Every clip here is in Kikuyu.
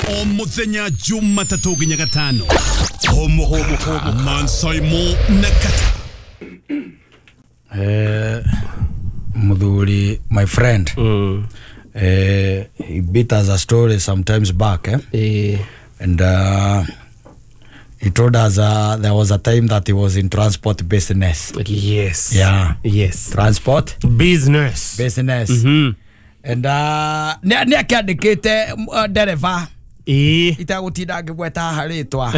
O muthenya Jumatatũ nginya Gatano. Homo Mansaimo na Kata. Muthuri, my friend. He beat us a story sometimes back, eh? And he told us there was a time that he was in transport business. Yes. Yeah. Yes. Transport business. Business. Mm-hmm. And ni akiandikite dereva itagũtinda ngĩgweta haha rĩtwa.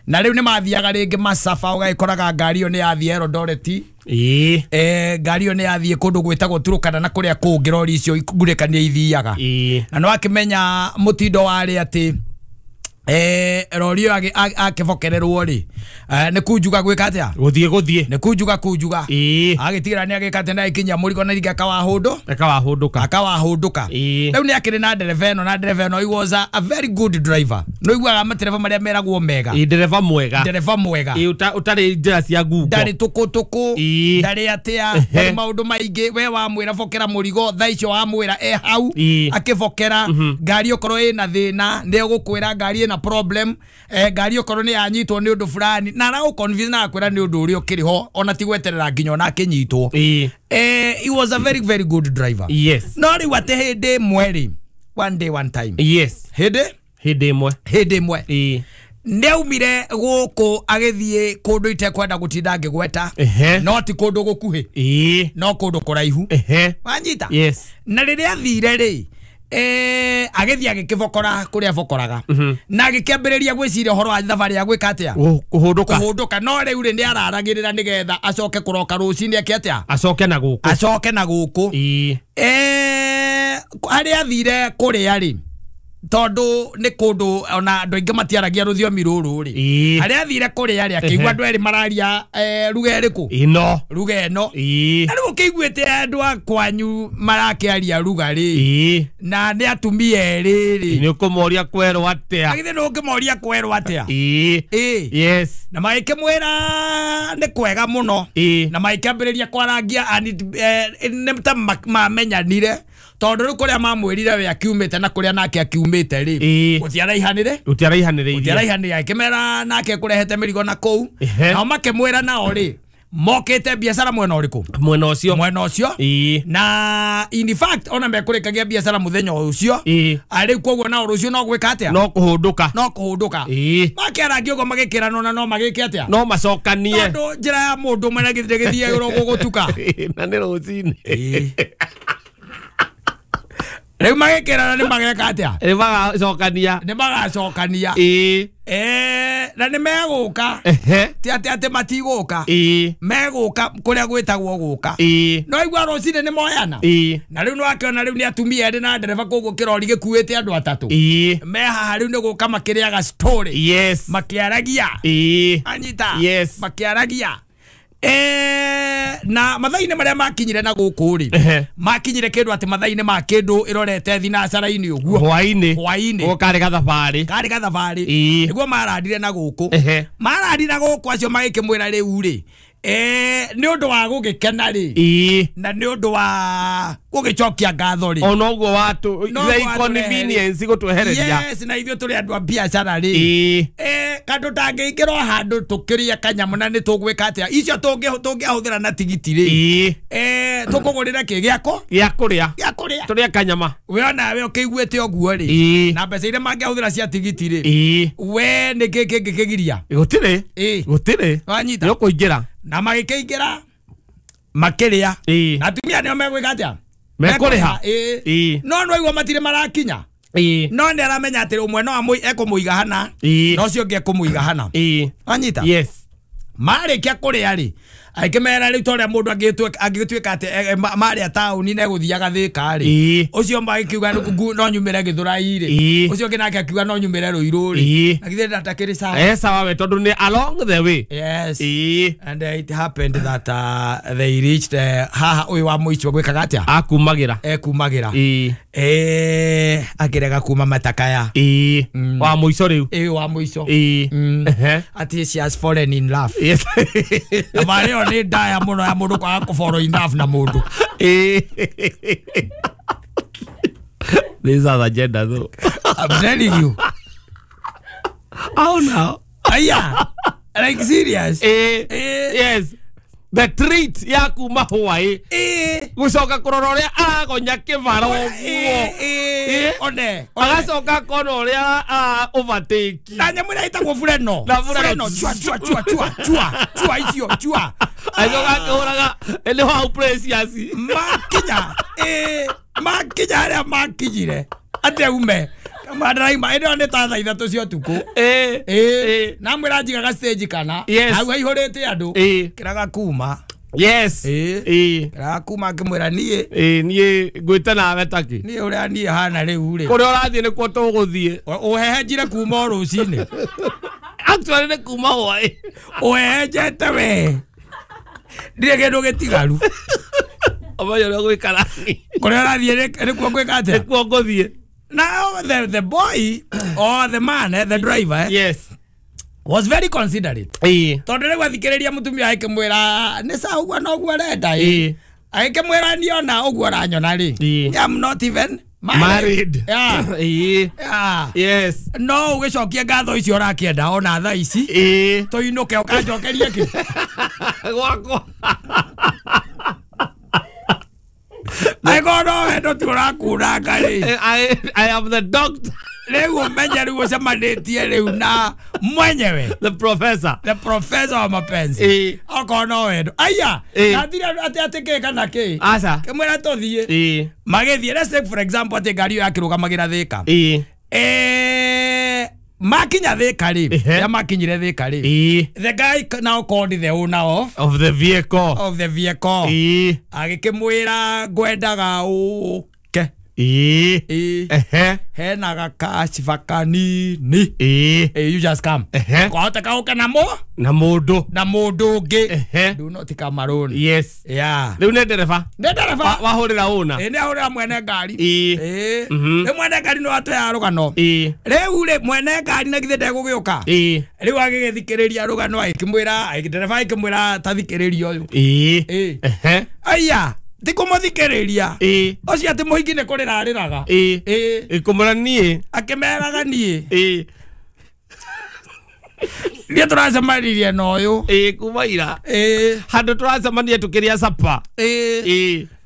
Na rĩu nĩ mathiaga rĩngĩ macaba ũgagĩkoraga ngari ĩyo nĩ yathiĩ Eldoret. Ngari ĩyo nĩ yathiĩ kũndũ gwĩtagwo Turukana na kũrĩa kũngĩ rori icio ngurĩkania ithiaga. Na nĩ wakĩmenya mũtindo warĩ atĩ rori ĩyo akĩbokererwo rĩ nĩ kunjuga gwĩka atĩa? Gũthiĩ nĩ kunjuga agĩtigĩra nĩ agĩka atĩ na ĩkinya mũrigo na rĩngĩ akawahũndũka. Rĩu nĩ akĩrĩ na ndereba ĩno, na ndereba ĩno he was a very good driver. Nĩ ũiguaga matereba marĩa meragwo mega. Ndereba mwega. Ndereba mwega. Ũtarĩ njĩra cia ngungo. Ndarĩ tũkũtũkũ, ndarĩ atĩa, ndarĩ maũndũ maingĩ. We wamwĩra bokera mũrigo thaa icio wamwĩra e hau akĩbokera. Ngari okorwo ĩna thĩna nĩ egũkwĩra ngari ĩna problem, ngari okorwo nĩ yanyitwo nĩ ũndũ fulani na aragũ convince na akwĩra nĩ ũndũ ũrĩa ũkĩrĩ ho ona ti gweterera nginya ona akĩnyitwo. He was a very very good driver. Yes. No rĩu atĩ hĩndĩ ĩmwe rĩ, one day one time. Yes. Hĩndĩ ĩmwe nĩaumire gũkũ agĩthiĩ kũndũ itekwenda gũtinda ngĩgweta, no ti kũndũ gũkuhĩ, no kũndũ kũraihu. Wanyita? Yes. Na rĩrĩa athire rĩ, agĩthiĩ agĩkĩbokora kũrĩa bokoraga na agĩkĩambĩrĩria gwĩciria ũhoro wa thabarĩ ya gwĩka atĩa? Kũhũndũka. No rĩu rĩ nĩ araragĩrĩra nĩgetha acoke kũroka rũcinĩ eke atĩa? Acoke na gũkũ. Acoke na gũkũ. Harĩa athire kũrĩa rĩ, tondũ nĩ kũndũ ona andũ aingĩ matiaragia rũthiomi rũrũ rĩ, harĩa athire kũrĩa rĩ akĩigua andũ erĩ mararia ruga ĩrĩkũ? Ĩno. Ruga ĩno. Na rĩu ũkĩiguĩte andũ a kwanyu marakĩaria ruga rĩ, na nĩ atumia erĩ rĩ, nĩ ũkũmoria kwerwo atĩa? Githĩ ndũngĩmoria kwerwo atĩa? Yes. Na magĩkĩmwĩra nĩ kwega mũno, na magĩkĩambĩrĩria kwarangia nĩ ta mamenyanire tondũ rĩu kũrĩa mamwĩrire we akiumĩte na kũrĩa nake akiumĩte rĩ gũtiaraihanĩre akĩmera nake kũrehete mĩrigo na kũu, nao makĩmwĩra nao rĩ mokĩte biacara mwena ũrĩkũ? Mwena ũcio. Mwena ũcio. Na in fact ona mekũrĩkagia biacara mũthenya ũcio rĩu koguo nao rũciũ no gwĩka atĩa? No kũhũndũka. No kũhũndũka. Makĩarangia ũguo magĩkĩranwo na no magĩke atĩa? No macokanie. Tondũ njĩra ya mũndũ ũmwe na gĩthire gĩthiagĩrwo gũgũtuka. Na nĩ rũcinĩ. Rĩu magĩkĩrana nĩ mageka atĩa? Nĩ magacokania. Nĩ magacokania. Na nĩ megũka. Ti atĩ atĩ matigũka. Megũka kũrĩa gwĩtagwo gũka. No igua rũcinĩ nĩ moyana. Na rĩu nĩwakĩona rĩu nĩ atumia erĩ na ndereba koguo kĩrori gĩkuĩte andũ atatũ. Me haha rĩu nĩ gũka makĩrĩaga story. Yes. Makĩaragia. Anyita. Yes. Makĩaragia. Na mathaa-inĩ marĩa makinyire na gũkũ rĩ, makinyire kĩndũ atĩ mathaa-inĩ ma kĩndũ ĩrorete thinacara-inĩ ũguo hwaĩ-inĩ. Hwaĩ-inĩ karĩ gathabarĩ. Karĩ gathabarĩ nĩguo marandire na gũkũ. Marandire na gũkũ acio magĩkĩmwĩra rĩu rĩ, nĩ ũndũ wa gũgĩkena rĩ, na nĩ ũndũ wa gũgĩcokia ngatho rĩ, ona ũguo watu the inconvenience gũtwehereria. Yes, na ithuĩ tũrĩ andũ a biacara rĩ, kandũ tangĩingĩra o handũ tũkĩrĩe kanyamũ na nĩ tũgwĩka atĩa? Icio tũngĩahũthĩra na tigiti rĩ, tũkũgũrĩra kĩ gĩako? Gĩa kũrĩa. Gĩa kũrĩa. Tũrĩe kanyama. We onawe ũkĩiguĩte ũguo rĩ, na mbeca iria mangĩahũthĩra cia tigiti rĩ, we nĩ kĩ kĩngĩkĩgiria? Gũtirĩ. Gũtirĩ. Wanyita? Nĩ ũkũingĩra. Na magĩkĩingĩra makĩrĩa. Na atumia nĩo megwĩka atĩa? Mekũrĩha. No no igua matirĩ marakinya. No nĩ aramenya atĩ ũmwe no ekũmũiga hana, na ũcio ũngĩ ekũmũiga hana. Wanyita? Yes. Marĩkia kũrĩa rĩ, akĩmera rĩu ta ũrĩa mũndũ angĩgĩtuĩka atĩ marĩa taũni na egũthiaga Thĩka rĩ, ũcio magĩkiuga no nyumĩre Gĩthũrai rĩ, ũcio ũngĩ nake akiuga no nyumĩre Rũirũ rĩ, na githĩ ndatakĩrĩ sawa? Sawa we tondũ nĩ along the way. Yes. And it happened that they reached haha ũyũ wa mũico gwĩkaga atĩa? Akumagĩra. Ekumagĩra. Akĩrega kuma matakaya. Wa mũico rĩu. Wa mũico. Atĩ she has fallen in love. Yes. Na marĩo nĩ ndaya mũno ya mũndũ kwaga kũ fall in love na mũndũ. This is agenda though. I'm telling you. Au nao. Aya. Like serious. Yes. The treat ya kuma Hawaii. Gucoka kurora uria aragonya kibaro uguo. One. Agacoka kona uria overtake. Na nyamu ira itagwo fureno. Fureno chua chua chua chua chua chua icio chua. Acoka akihuraga ni how precious. Makinya. Makinya aria makinyire. Ate ume. Madaraima ĩno nĩ ta thaa ithatũ cia ũtukũ. Na mwĩra njigaga stage kana hau haihũrĩte andũ kĩraga kuma. Yes. Kĩraga kuma ngĩmwĩra niĩ. Niĩ ngwĩte nawe takĩ. Niĩ ũrĩa niĩ hana rĩu rĩ. Kũrĩa ũrathiĩ nĩkuo tũgũthiĩ. Ũhehenjire kuma o rũcinĩ. Actually nĩ kuma hwaĩ. Ũhehenjete we. Ndirĩ kĩndũ gĩtigaru. Ũmenye ũrĩa ũgwĩkara. Kũrĩa ũrathiĩ nĩkuo ngwĩka atĩa? Nĩkuo ngũthiĩ. Now the boy or the man, the driver, yes, was very considerate. Tondu riu athikiriria mutumia akimwira ni sawa uguo no uguo arenda akimwira niona uguo aranyona ri. I'm not even married. Yeah. Yeah. Yes. No ugicokie ngatho icio urakienda ona thaa ici. Tuinuke ukanjokerie ki. Gwakwa. I got no head to rakura. I am the doctor. Rĩu ũmenye rĩu ũcemanĩtie rĩu na mwenyewe. The professor. The professor wa mapenzi. Okorwo no wendo. Aya. Nathire atĩ atĩ kĩ kana kĩ. Aca. Kĩmwĩra tũthiĩ. Magĩthiĩ. Let's take for example atĩ ngari ĩyo yakĩrũgamagĩra Thĩka. Makinya Thĩka rĩ. Rĩrĩa makinyire Thĩka rĩ. The guy now called the owner of the vehicle. Of the vehicle. Agĩkĩmwĩra ngwendaga ũke. Hena gakaciba kanini. You just come. Kwahoteka ũke na na mũndũ. Na mũndũ ũngĩ. Do not come alone. Yes. Yeah. Rĩu nĩ ndereba. Nĩ ndereba. Wahũrĩra ũna. Nĩ ahũrĩra mwene ngari. Rĩu mwene ngari no atũheaga rũgano. Rĩu rĩ mwene ngari na githĩ ndegũgĩũka. Rĩu agĩgĩthikĩrĩria rũgano agĩkĩmwĩra ndereba agĩkĩmwĩra ta thikĩrĩria ũyũ. Aya. Ti kũmũthikĩrĩria. Ũcio atĩ mũhiki nĩ kũrĩra arĩraga. Ĩkũmwĩra niĩ. Akĩmeraga niĩ. Niĩ tũracemanirie na ũyũ. Kuma ira. Handũ tũracemania tũkĩrĩa sapa.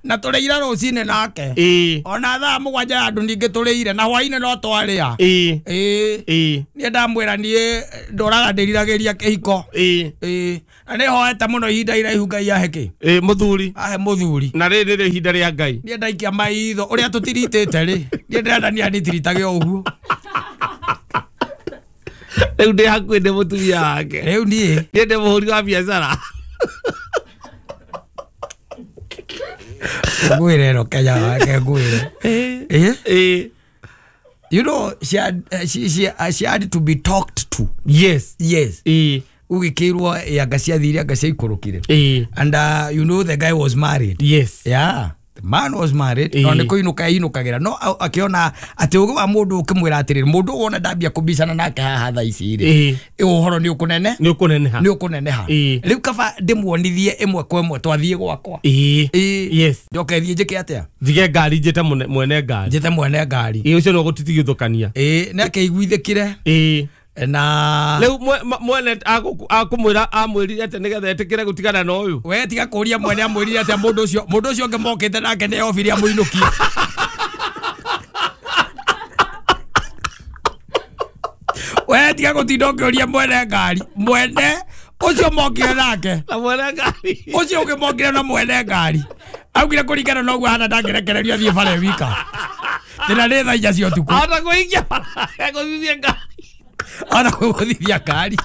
Na tũrĩire rũcinĩ nake. Ona thaa mũgwanja ya andũ ningĩ tũrĩire na hwainĩ no twarĩa. Niĩ ndamwĩra niĩ ndũraga ndĩriragĩria kĩhiko. Na nĩ hoete mũno ihinda iraihu Ngai ahe kĩ? Mũthuri. Ahe mũthuri. Na rĩrĩ nĩrĩo ihinda rĩa Ngai. Niĩ ndaikia maitho ũrĩa tũtiritĩte rĩ. Niĩ ndĩrenda niĩ anitiritage o ũguo. Rĩu ndĩ hakuhĩ ndĩ mũtumia wake. Rĩu niĩ. Niĩ ndĩ mũhũri wa biacara. Ngwĩre ĩno Kenya wake ngwĩre. You know she had to be talked to. Yes. Yes. Ugĩkĩrwo anga ciathire anga ciaikũrũkire. And you know the guy was married. Yes. Yeah. The man was married. No nĩ kũinũka ainũkagĩra. No akĩona atĩ ũgĩ wa mũndũ ũkĩmwĩra atĩrĩrĩ mũndũ wona ndambia kũbicana nake haha thaa ici rĩ. Ũhoro nĩ ũkũnene. Nĩ ũkũneneha. Nĩ ũkũneneha. Rĩu kaba ndĩmuonithie ĩmwe kwa ĩmwe twathiĩ gwakwa. Yes. Njoke thiĩ njĩke atĩa? Njige ngari njĩte mwene ngari. Njĩte mwene ngari. Ũcio no gũtitigithũkania. Nĩ akĩiguithĩkire. Na rĩu mwene akũmwĩra amwĩrire atĩa nĩgetha etĩkĩre gũtigana na ũyũ. We tiga kũria mwene amwĩrire atĩa mũndũ ũcio ũngĩ mokĩte nake nĩ obire amũinũkie. We tiga gũtinda ũkĩũria mwene ngari. Mwene ũcio mokire nake. Na mwene ngari. Ũcio ũngĩ mokire na mwene ngari. Augire kũringana na ũguo hana ndangĩrekererio athiĩ bara e wika. Tena nĩ thaa inya cia ũtukũ. Ahota kũhingia bara egũthithie ngari. Ana kũgũthithia ngari.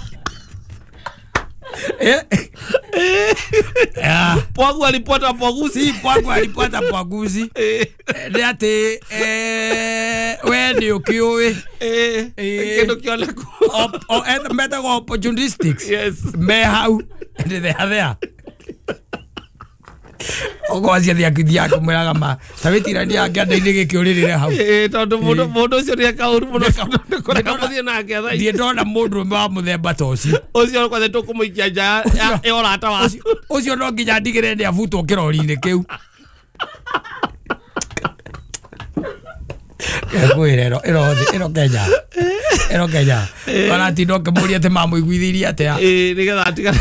Pwagu alipata pwaguzi. Pwagu alipata pwaguzi. Nĩ atĩ we nĩ ũkĩũĩ. Kĩndũ kĩoneku. Metagwo opportunistics. Yes. Me hau. They are there. Ũgwacia thiakithia akĩmwĩraga ma ta wĩtirania kĩanda-inĩ gĩkĩ ũrĩrĩre hau. Tondũ mũndũ ũcio nĩ eka ũru mũno kũreka mũthiĩ nake thaa ici. Ndirĩ ndona mũndũrũme wa mũthemba ta ũcio. Ũcio kwanja tũkũmũikia nja ya ũrata waku. Ũcio no nginya ndigĩrĩre nĩ abutwo kĩrori-inĩ kĩu. Ngwĩre ĩno Kenya. Ero Kenya aratinda ũkĩmũria atĩ mamũiguithirie atĩa. Ĩĩ, nĩgetha atigane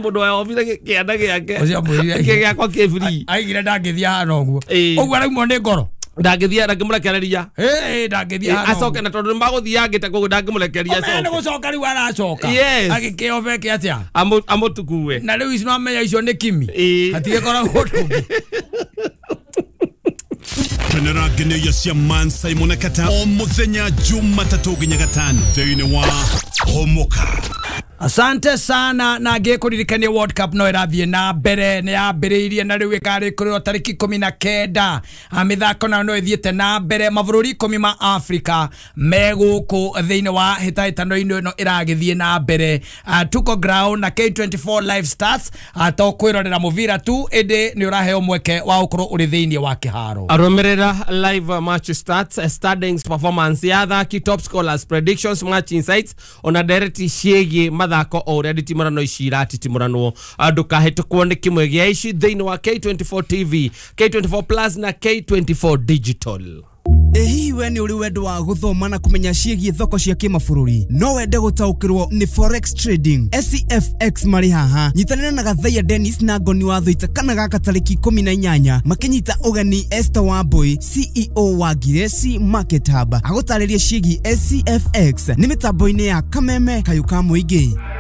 mũndũ wa obithe kĩanda gĩake. Ũcio amwĩrire- Kĩ gĩakwa kĩ free. Aigire ndangĩthiĩ hana ũguo. Ĩĩ. Ũguo araumwo nĩ ngoro. Ndangĩthiĩ, ndangĩmũrekereria. Ĩĩ, ndangĩthiĩ hana. Acoke na tondũ nĩmagũthiangĩte koguo ndangĩmũrekeria. Ũmenye nĩ acoke. gũcoka rĩu aracoka. Yes. Agĩkĩobeke atĩa. Amũtukue. Na rĩu ici nomenya icio nĩ kimi. Ĩĩ. Hatigĩkoragwo ũndũ ũngĩ. Kenera ngeneia cia Man Simon Kata o muthenya Jumatatũ nginya gatano thĩinĩ wa Homoka. Asante sana na ngĩkũririkania World Cup no ĩrathiĩ na mbere, nĩ yambĩrĩirie na rĩu ĩkarĩkũrĩrwo tarĩki 19. Mĩthako nayo no ĩthiĩte na mbere, mabũrũri 10 ma Africa me gũkũ thĩinĩ wa hĩtahĩtano-inĩ ĩno ĩragĩthiĩ na mbere. Tuko ground na K24 live stars. To kwĩrorera mũbira tu, ĩndĩ nĩ ũraheo mweke wa gũkorwo ũrĩ thĩinĩ wa kĩharo. Arũmĩrĩra live match stats, standings, performance ya athaki, top scholars, predictions, match insights ona ndereti ciĩgiĩ mathako o ũrĩa nditimũrano ici iratitimũranwo. Ndũkahĩtũkwo nĩ kĩmwe gĩa ici thĩinĩ wa K24 TV, K24 Plus na K24 Digital. Ĩ hihi we nĩ ũrĩ wendo wa gũthoma na kũmenya ciĩgiĩ thoko cia kĩmabũrũri? No wende gũtaũkĩrwo nĩ forex trading? SCFX marĩ haha. Nyitanĩra na Gathaiya Dennis na Ngoni wa Thũita kana gaka tarĩki 18 makĩnyita ũgeni Esther Wambui, CEO wa Ngiresi Market Hub, agũtarĩrie ciĩgiĩ SCFX nĩ mĩtambo-inĩ ya Kameme Kayũ ka Mũingĩ.